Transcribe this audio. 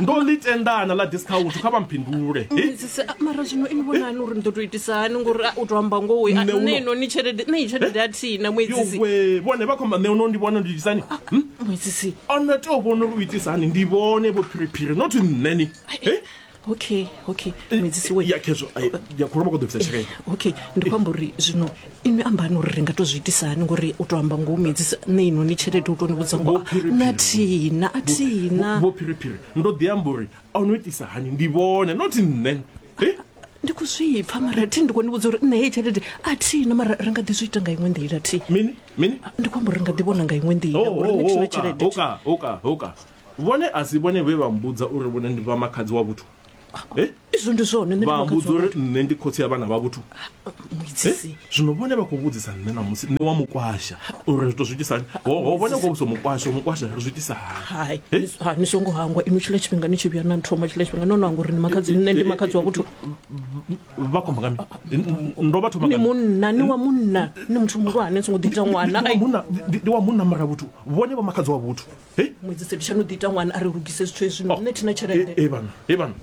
Ndo ḽi tendana ḽa discount kha vha mphindule. He? Muedzisi, a, mara zwino ini vhonani uri ni ḓo tou itisa hani ngori a, u tou amba ngoho a, Nṋe nṋe uno- inoni tshelede nṋe iyi tshelede a thina muedzisi. Yowe, vhone vha khou amba nṋe uno ndi vhona ndi itisani. Hm? Muedzisi. A no tea u vhona uri u itisa hani ndi vhone vho phiriphiri not nṋe ni. He? Okay, okay. Muedzisi we. Ya khezwo, ai, ya khuluma khou ḓo bvisa tshelede. Okay, ndi khou amba uri zwino inwi ambani uri ri nga to zwi itisa hani ngori u tou amba ngoho muedzisi nṋe inoni tshelede u tou ni vhudza ngoho Vho Phiriphiri. nṋe a thina a thina. Vho phiriphiri, ndo ḓi amba uri a no itisa hani ndi vhone not nṋe. He? Ndi khou zwi pfa mara thi ndi khou ni vhudza uri nṋe heyi tshelede a thina mara ri nga ḓi zwi ita nga iṅwe nḓila thi. Mini? Mini? Ndi khou amba uri ri nga ḓi vhona nga iṅwe nḓila Oh, ngori oh, nṋe thina oh, tshelede. Hoka, hoka, hoka. Vhone a si vhone vhe vha mbudza uri vhone ndi vha makhadzi wa vhuthu. Eh? Izwo ndi zwone nṋe ndi Vha makhadzi mbudza wa uri vhuthu. nṋe ndi khotsi ya vhana vha vhuthu. Muedzisi. Eh? Zwino vhone vha khou vhudzisa nṋe ṋamusi nṋe wa mukwasha uri ri to zwi itisa hani. Ho ho vhone khou vhudzisa mukwasha, mukwasha ri zwi itisa hani. Hai, Eh? ha ni songo hangwa inwi tshiḽa tshifhinga ni tshi vhuya na nthoma tshiḽa tshifhinga no no hangwa uri ni makhadzi nṋe ndi makhadzi wa vhuthu. Vha khou amba nga mini? Ndo vha thoma Ni nga mini? munna, ni wa munna, ni muthu muhulwane ni songo ḓi ita ṅwana. Ndi wa Ai. munna, ndi ndi wa munna mara vhuthu. Vhone vha makhadzi wa vhuthu. He? Muedzisi ndi tsha no ḓi ita ṅwana a ri lugise zwithu hezwi nṋe thina tshelede. E vhana, e vhana.